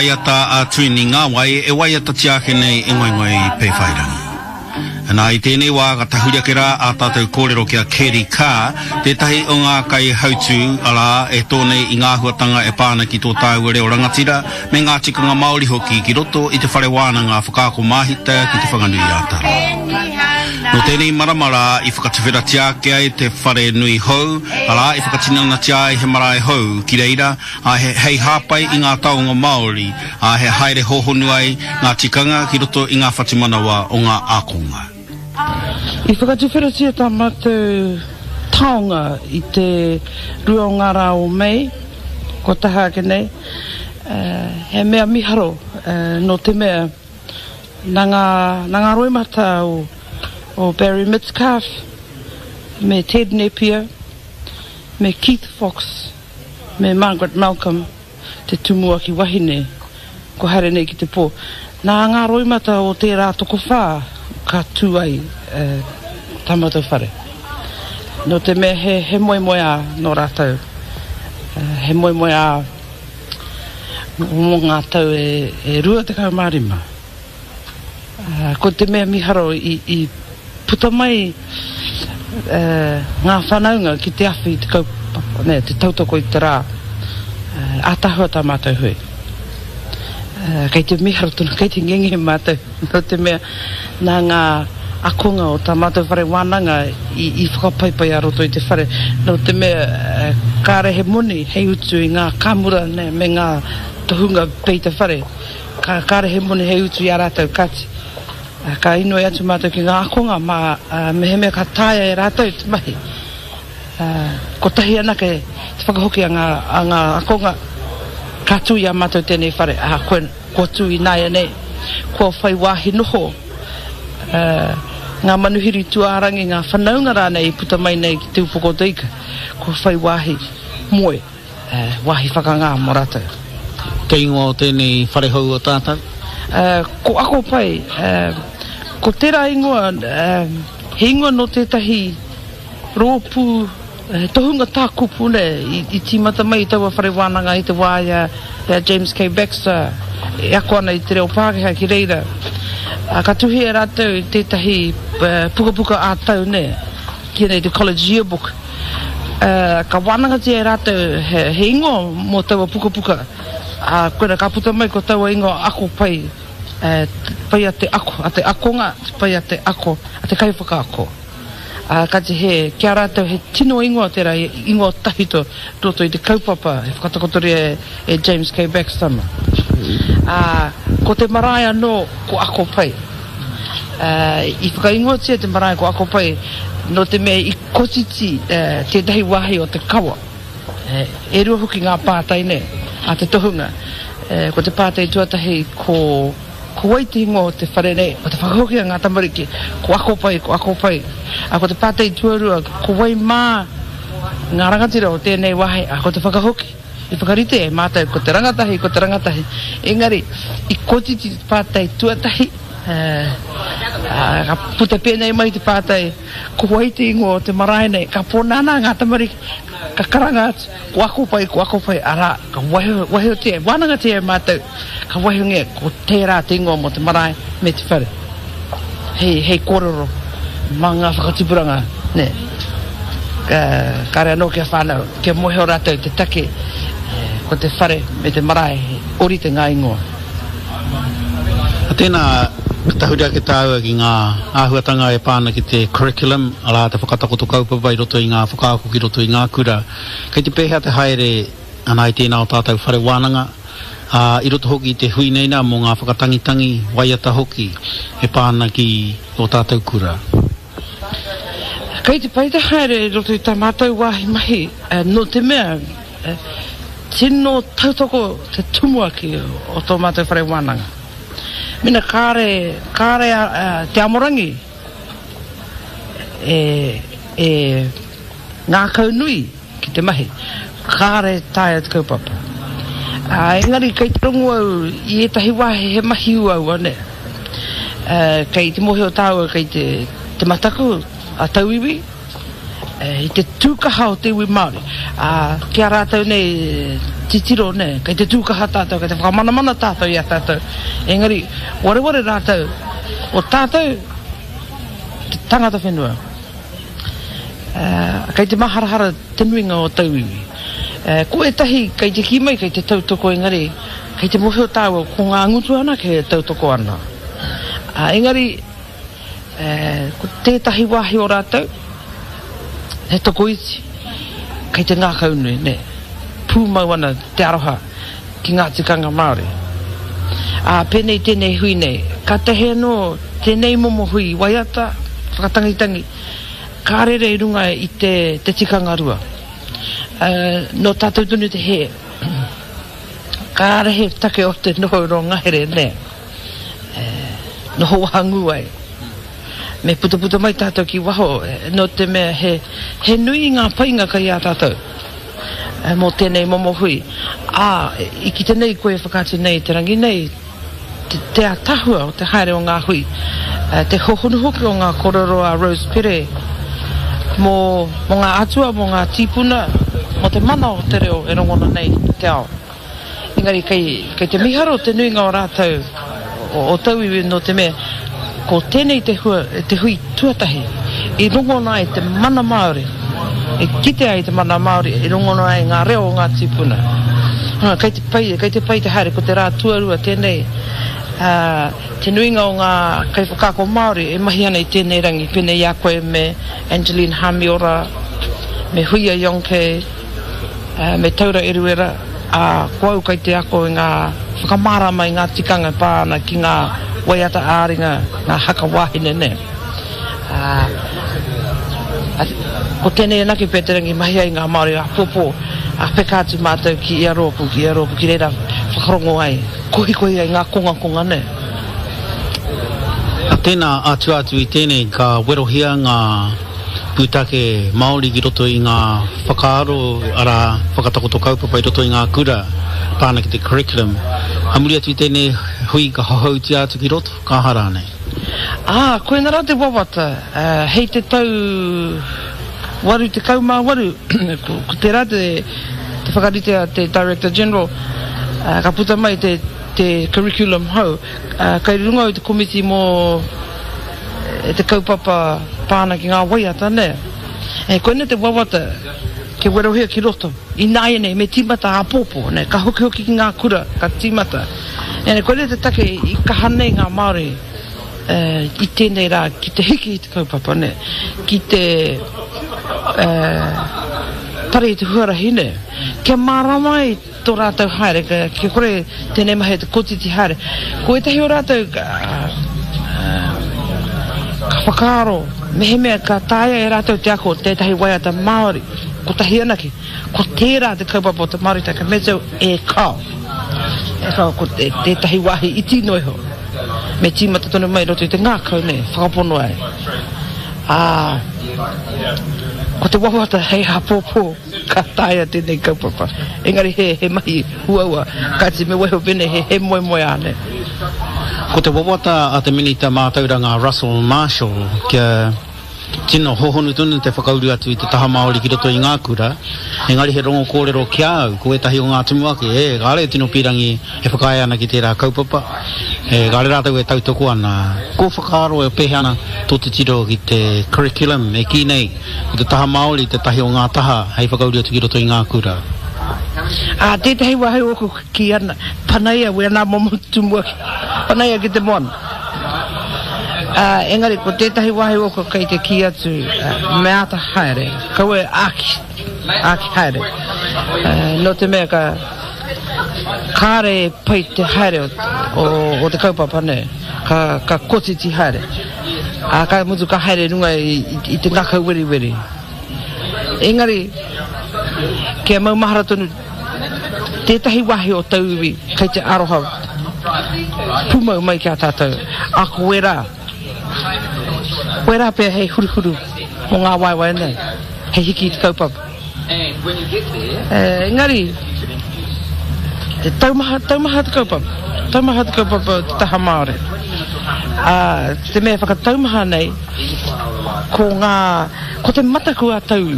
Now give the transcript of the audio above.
Waiata a Tuini Ngāwai e waiatatia ake nei e Ngoingoi Pēwhairangi. Nā, i tēnei wā ka tahuri ake rā ā tātou kōrero ki a Kerry Carr, tētahi o ngā kaihautū, arā, e tō nei i ngā āhuatanga e pā ana ki tō tāua reo rangatira me ngā tikanga Māori hoki ki roto i te whare wānanga whakaako māhita ki Te Whanganui-ā-Tara. Nō tēnei marama rā i whakatuwheratia ake ai te whare nui hou, arā, i whakatinanatia ai he marae hou ki reira, ā, he hei hāpai i ngā taonga Māori, ā, he haere hōhonu ai ngā tikanga ki roto i ngā whatumanawa o ngā ākonga. I whakatuwheratia tā mātou taonga i te rua o ngā rā o Mei, kua taha ake nei, he mea miharo nō te mea nā ngā, nā ngā roimata o, o Barry Mitcalfe me Ted Nepia me Keith Fox, Me Margaret Malcolm, te tumuaki wahine, kua haere nei ki te pō. Nā ngā roimata o tērā tokowhā ka tū ai tā mātou whare. Nō te mea he, he moemoeā nō rātou, he moemoeā mō ngā tau e, e 25. Ko te mea miharo i puta mai ngā whanaunga ki te awhi i te kaupapa, nē, te tautoko i te rā. Ātaahua tā mātou hui. Kei te miharo tonu, kei te ngenge mātou, nō te mea nā ngā akonga o tā mātou whare wānanga i whakapaipai a roto i te whare, nō te mea kāre he moni hei utu i ngā kāmura, nē, me ngā tohunga peita whare. Ka kāre he moni hei utu i a rātou, kāti, ka inoi atu mātou ki ngā ākonga mā, mehemea ka taea e rātou te mahi, kotahi anake te whakahoki a ngā, a ngā ākonga, ka tū i a mātou tēnei whare, ā, kua, kua tū ināianei, kua whai wāhi noho ngā manuhiri tūārangi, ngā whanaunga rānei i puta mai nei ki Te Upoko o te Ika, kua whai wāhi moe. Wāhi whakangā mō rātou. Te ingoa o tēnei whare hou o tātou? Ko Ako Pai. Ko tērā ingoa, he ingoa nō tētahi rōpū, he tohunga tā kupu nei, i tīmata mai i taua whare wānanga i te wā i a James K. Baxter e ako ana i te reo Pākehā ki reira. Ka tuhia e rātou tētahi pukapuka ā-tau nei. Tēnei te College Yearbook. Ka wānangatia e rātou he ingoa mō taua pukapuka, ā, koirā ka puta mai ko taua ingoa ako pai, pai a te ako, a te akonga, te pai a te ako, a te kaiwhakaako. Ā, kāti he, ki a rātou he tino ingoa tērā, he ingoa tawhito roto i te kaupapa e whakatakotoria e James K. Baxter mā. Ā, ko te marae anō ko Ako Pai. I whakaingoatia te marae ko Ako Pai nō te mea i kotiti tētahi wāhi o te kawa. E rua hoki ngā pātai nei a te tohunga. Ko te pātai tuatahi ko ko wai te ingoa o te whare nei? Ko te whakahoki a ngā tamariki, ko Ako Pai, ko Ako Pai. A ko te pātai tuarua, ko wai mā ngā rangatira o tēnei wāhi? A ko te whakahoki i whakarite e mātou ko te rangatahi, ko te rangatahi. Engari, i kotiti te pātai tuatahi, ka puta pēnei mai te pātai, ko wai te ingoa o te marae nei? Ka pōnānā ngā tamariki, ka karanga atu, ko Ako Pai, ko Ako Pai, arā, ka waihotia, wānangatia e mātou, ka waihongia ko tērā te ingoa mō te marae me te whare. Hei, hei kōrero mā ngā whakatipuranga, nē. Kāre anō kia whānau, kia mōhio rātou te take ko te whare me te marae he ōrite ngā ingoa. Tēnā, ka tahuri ake tāua ki ngā āhuatanga e pā ana ki te curriculum, arā, te whakatakoto kaupapa i roto i ngā whakaako ki roto i ngā kura. Kei te pēhea te haere ana i tēnā o tātou whare wānanga, ā, i roto hoki i te hui nei nā mō ngā whakatangitangi, waiata hoki e pā ana ki ō tātou kura. Kei te pai te haere i roto i tā mātou wāhi mahi, nō te mea, tino tautoko te tumuaki o tō mātou whare wānanga. Mena kāre, kāre te amorangi e, e ngākaunui ki te mahi, kāre e taea te kaupapa. Ā, engari kei te rongo au i ētahi wāhi he mahi uaua, nē. Ā, kei te mōhio tāua kei te, te mataku a tauiwi, i te tūkaha o te iwi Māori. Ā, ki a rātou nei, titiro, nē, kei te tū kaha tātou, kei te whakamanamana tātou i a tātou, engari wareware rātou, o tātou te tangata whenua. Kei te maharahara te nuinga o tauiwi. Ko ētahi kei te kī mai kei te tautoko engari kei te mōhio tāua ko ngā ngutu anake e tautoko ana. Engari ko tētahi wāhi o rātou he tokoiti kei te ngākaunui, nē, pūmau ana te aroha ki ngā tikanga Māori. Ā, pēnei tēnei hui nei, kātahi anō tēnei momo hui waiata, whakatangitangi, ka rere i runga i te, te tikanga rua. Ā, nō tātou tonu te hē. Kāre he take o te noho rō ngahere, nē. E, noho wahangū ai. Me putaputa mai tātou ki waho, nō te mea he, he nui ngā painga kei a tātou mō tēnei momo hui. Ā, i kite nei koe e whakaatu nei i te rangi nei, te, te ātaahua o te haere o ngā hui, te hohonu hoki o ngā kōrero a Rose Pere mō, mō ngā atua, mō ngā tīpuna, mō te mana o te reo e rongona nei i te ao. Engari kei, kei te miharo te nuinga o rātou, o, o tauiwi nō te mea, ko tēnei te hua, te hui tuatahi i rongona ai te mana Māori, i kitea ai te mana Māori, i rongona ai ngā reo o ngā tīpuna. Hā, kei te pai, kei te pai te haere, ko te rā tuarua tēnei, ā, te nuinga o ngā kaiwhakaako Māori e mahi ana i tēnei rangi, pēnei i a koe me Angeline Hamiora, me Huia Yonke, Me Taura Eruera, ā, ko au kai te ako i ngā whakamārama i ngā tikanga e pā ana ki ngā waiata ā-ringa, ngā haka wāhine nē. Ā, ko tēnei anake pea te rangi mahi ai ngā Māori āpōpō, ā, peka atu mātou ki ia rōpū, ki ia rōpū, ki reira whakarongo ai, kohikohi ai ngā kongakonga nē. Tēnā, ā tua atu i tēnei ka werohia ngā. Pūtake Māori ki roto i ngā whakaaro, arā, whakatakoto kaupapa i roto i ngā kura, pā ana ki te curriculum. A muri atu i tēnei hui ka hohoutia atu ki roto, ka aha rānei? Ā, koinā rā te wawata, hei te tau 88, ko tērā te whakarite a te Director General, ka puta mai te curriculum hou, kei runga au i te komiti mō te kaupapa pā ana ki ngā waiata, nē. E, koinei te wawata kia werohia ki roto. Ināianei, me tīmata āpōpō, nē, ka hokihoki ki ngā kura, ka tīmata. E, koinei te take i kaha nei ngā Māori e, i tēnei rā ki te hiki i te kaupapa, nē, ki te e, pare i te huarahi, nē, kia mārama ai tō rātou haere, kia kore tēnei mahi te kotiti haere. Ko ētahi o rātou ka whakaaro mehemea ka taea e rātou te ako tētahi waiata Māori kotahi anake, ko tērā te kaupapa o te Māoritanga Mezzo e kao. E kao ko tētahi wāhi iti noa iho. Me tīmata tonu mai i roto i te ngākau nei, whakapono ai. Ā, ko te wawata hei āpōpō. Ka taea tēnei kaupapa. Engari he, he mahi uaua. Kāti me waiho pēnei he, he moemoeā nei. Ko te wawata a te Minita Mātauranga a Russell Marshall kia tino hohonu tonu te whakauru atu i te taha Māori ki roto i ngā kura, engari he rongo kōrero ki a au, ko ētahi o ngā tumuaki, e, kāre e tino pīrangi e whakaae ana ki tērā kaupapa, e, kāre rātou e tautoko ana. Ko whakaaro e pēhea ana tō titiro ki te curriculum e kī nei, Ko te taha Māori tētahi o ngā taha hei whakauru atu ki roto i ngā kura. Ā, tētahi wāhi ōku kī ana, panaia wēnā momo tumuaki, panaia ki te moana. Ā, engari ko tētahi wāhi ōku kei te kī atu, me āta haere, kaua e āki, āki haere. Ā, nō te mea ka, kāre e pai te haere o, o, o te kaupapa nei, ka, ka kotiti haere. Ā, ka mutu ka haere i runga i, i te ngākau weriweri. Engari, kia maumahara tonu, tētahi wāhi o tauiwi kei te aroha pūmau mai ki a tātou, ā, ko wērā, wērā pea hei huruhuru mō ngā waewae nei, hei hiki i te kaupapa. Engari, te taumaha, taumaha te kaupapa, taumaha te kaupapa o te taha Māori. Ā, te mea whakataumaha nei, ko ngā, ko te mataku a tauiwi.